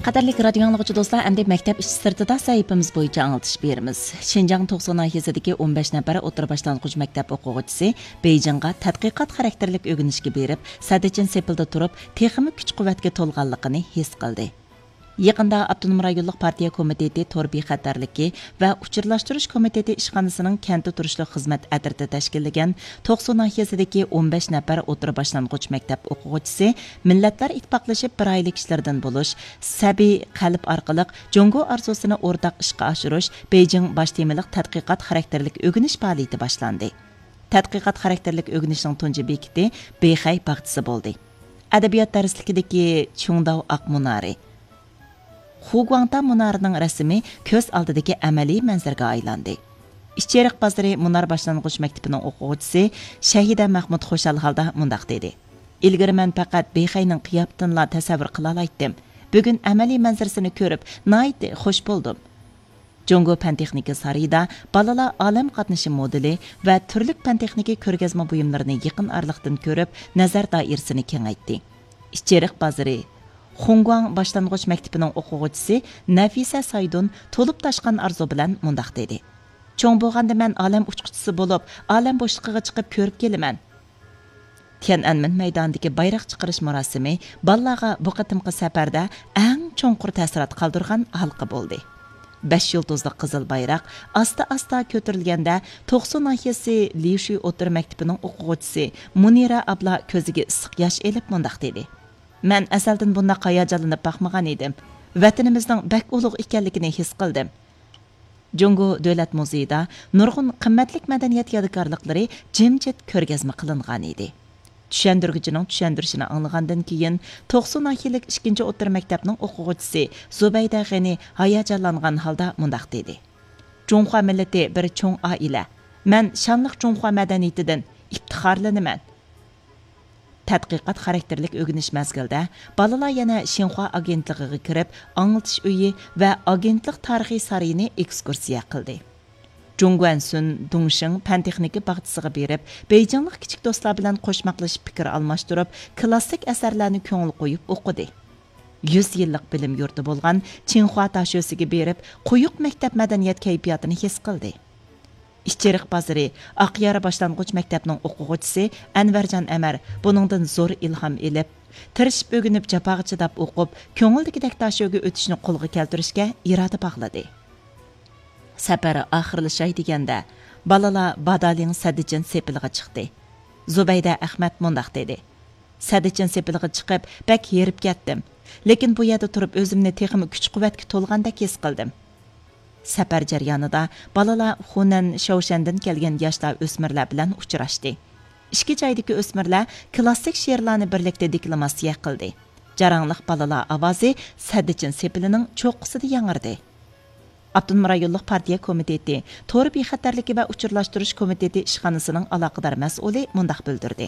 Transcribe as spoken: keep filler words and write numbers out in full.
قەدىرلىك رادىيو ئاڭلىغۇچى دوستلار، ئەمدى مەكتەپ ئىچى سىرتىدا سەھىپىمىز بويىچە ئاڭلىتىش بېرىمىز. شىنجاڭ توقسۇ ناھىيەسىدىكى ئون بەش نەپەر ئوتتۇرا باشلانغۇچ مەكتەپ ئوقۇغۇچىسى بېيجىڭغا تەتقىقات خاراكتېرلىك ئۆگىنىشكە بېرىپ، سەددىچىن سېپىلدا تۇرۇپ، تېخىمۇ كۈچ-قۇۋۋەتكە تولغانلىقىنى ھېس قىلدى. يېقىندا ئاپتونوم رايونلۇق پارتىيە كومىتېتى تور بىخەتەرلىكى ۋە ئۇچۇرلاشتۇرۇش كومىتېتى ئىشخانىسىنىڭ كەنتتە تۇرۇشلۇق خىزمەت ئەترىتى تەشكىللىگەن توقسۇ ناھىيەسىدىكى ئون بەش نەپەر ئوتتۇرا باشلانغۇچ مەكتەپ ئوقۇغۇچىسى مىللەتلەر ئىتتىپاقلىشىپ بىر ئائىلە كىشىلىرىدىن بولۇش سەبىي قەلب ئارقىلىق جۇڭگو ئارزۇسىنى ئورتاق ئىشقا ئاشۇرۇش بېيجىڭ باش تېمىلىق تەتقىقات خاراكتېرلىك ئۆگىنىش پائالىيىتى باشلاندى. تەتقىقات خاراكتېرلىك ئۆگىنىشنىڭ تۇنجى بېكىتى بېخەي باغچىسى بولدى. ئەدەبىيات دەرسلىكىدىكى چۈڭداۋ ئاق مۇنارى، خۇگۇاڭتا مۇنارىنىڭ رەسىمى كۆز ئالدىدىكى ئەمەلىي مەنزىرىگە ئايلاندى. ئىچېرىق بازىرى مۇنار باشلانغۇچ مەكتىپىنىڭ ئوقۇغۇچىسى شەھىدە مەخمۇت خۇشال ھالدا مۇنداق دېدى: «ئىلگىرى مەن پەقەت بېخەينىڭ قىياپىتىنىلا تەسەۋۋۇر قىلالايتتىم. بۈگۈن ئەمەلىي مەنزىرىسىنى كۆرۈپ، ناھايىتى خۇش بولدۇم.» جۇڭگو پەن تېخنىكا سارىيىدا بالىلار ئالەم قاتنىشى مودېلى ۋە تۈرلۈك پەن تېخنىكا كۆرگەزمە بۇيۇملىرىنى يېقىن ئارىلىقتىن كۆرۈپ، نەزەر دائىرىسىنى كېڭەيتتى. ئىچېرىق بازىرى خۇڭگۇاڭ باشلانغۇچ مەكتىپىنىڭ ئوقۇغۇچىسى نەفىسە سايدۇن تولۇپ تاشقان ئارزۇ بىلەن مۇنداق دېدى: «چوڭ بولغاندا مەن ئالەم ئۇچقۇچىسى بولۇپ، ئالەم بوشلۇقىغا چىقىپ كۆرۈپ كېلىمەن.» تيەنئەنمېن مەيدانىدىكى بايراق چىقىرىش مۇراسىمى بالىلارغا بۇ قېتىمقى سەپەردە ئەڭ چوڭقۇر تەسىرات قالدۇرغان ھالقا بولدى. بەش يۇلتۇزلۇق قىزىل بايراق ئاستا-ئاستا كۆتۈرۈلگەندە، توقسۇ ناھىيەسى لىشۈي ئوتتۇرا مەكتىپىنىڭ ئوقۇغۇچىسى مۇنىرە ئابلا كۆزىگە ئىسسىق ياش ئېلىپ مۇنداق دېدى: «مەن ئەزەلدىن بۇنداق ھاياجانلىنىپ باقمىغان ئىدىم. ۋەتىنىمىزنىڭ بەك ئۇلۇغ ئىكەنلىكىنى ھېس قىلدىم.» جۇڭگو دۆلەت مۇزېيىدا نۇرغۇن قىممەتلىك مەدەنىيەت يادىكارلىقلىرى جىمجىت كۆرگەزمە قىلىنغانىدى. چۈشەندۈرگۈچىنىڭ چۈشەندۈرۈشىنى ئاڭلىغاندىن كېيىن، توقسۇ ناھىيەلىك ئىككىنچى ئوتتۇرا مەكتەپنىڭ ئوقۇغۇچىسى زۇبەيدە غېنى ھاياجانلانغان ھالدا مۇنداق دېدى: «جۇڭخۇا مىللىتى بىر چوڭ ئائىلە. مەن شانلىق جۇڭخۇا مەدەنىيىتىدىن ئىپتىخارلىنىمەن.» تەتقىقات خاراكتېرلىك ئۆگىنىش مەزگىلىدە بالىلار يەنە شىنخۇا ئاگېنتلىقىغا كىرىپ، ئاڭلىتىش ئۆيى ۋە ئاگېنتلىق تارىخىي سارىيىنى ئېكسكۇرسىيە قىلدى. جۇڭگۇەنسۈن دۇڭشىڭ پەن تېخنىكا باغچىسىغا بېرىپ، بېيجىڭلىق كىچىك دوستلار بىلەن قوشماقلىشىپ پىكىر ئالماشتۇرۇپ، كلاسسىك ئەسەرلەرنى كۆڭۈل قويۇپ ئوقۇدى. يۈز يىللىق بىلىم يۇرتى بولغان چىڭخۇا داشۆسىگە بېرىپ، قويۇق مەكتەپ مەدەنىيەت كەيپىياتىنى ھېس قىلدى. ئىچېرىق بازىرى ئاقيارا باشلانغۇچ مەكتەپنىڭ ئوقۇغۇچىسى ئەنۋەرجان ئەمەر بۇنىڭدىن زور ئىلھام ئېلىپ، تىرىشىپ ئۆگىنىپ، جاپاغا چىداپ ئوقۇپ، كۆڭۈلدىكىدەك داشۆگە ئۆتۈشنى قولغا كەلتۈرۈشكە ئىرادە باغلىدى. سەپەر ئاخىرلىشاي دېگەندە، بالىلار بادالىڭ سەددىچىن سېپىلىغا چىقتى. زۇبەيدە ئەخمەت مۇنداق دېدى: «سەددىچىن سېپىلىغا چىقىپ، بەك ھېرىپ كەتتىم. لېكىن بۇ يەردە تۇرۇپ ئۆزۈمنى تېخىمۇ كۈچ-قۇۋۋەتكە تولغاندەك ھېس قىلدىم.» سەپەر جەريانىدا بالىلار خۇنەن، شياۋشەندىن كەلگەن ياشلار، ئۆسمۈرلەر بىلەن ئۇچراشتى. ئىككى جايدىكى ئۆسمۈرلەر كلاسسىك شېئىرلارنى بىرلىكتە دېكلاماتسىيە قىلدى. جاراڭلىق بالىلار ئاۋازى سەددىچىن سېپىلىنىڭ چوققىسىدا ياڭرىدى. ئاپتونوم رايونلۇق پارتىيە كومىتېتى تور بىخەتەرلىكى ۋە ئۇچۇرلاشتۇرۇش كومىتېتى ئىشخانىسىنىڭ ئالاقىدار مەسئۇلى مۇنداق بىلدۈردى: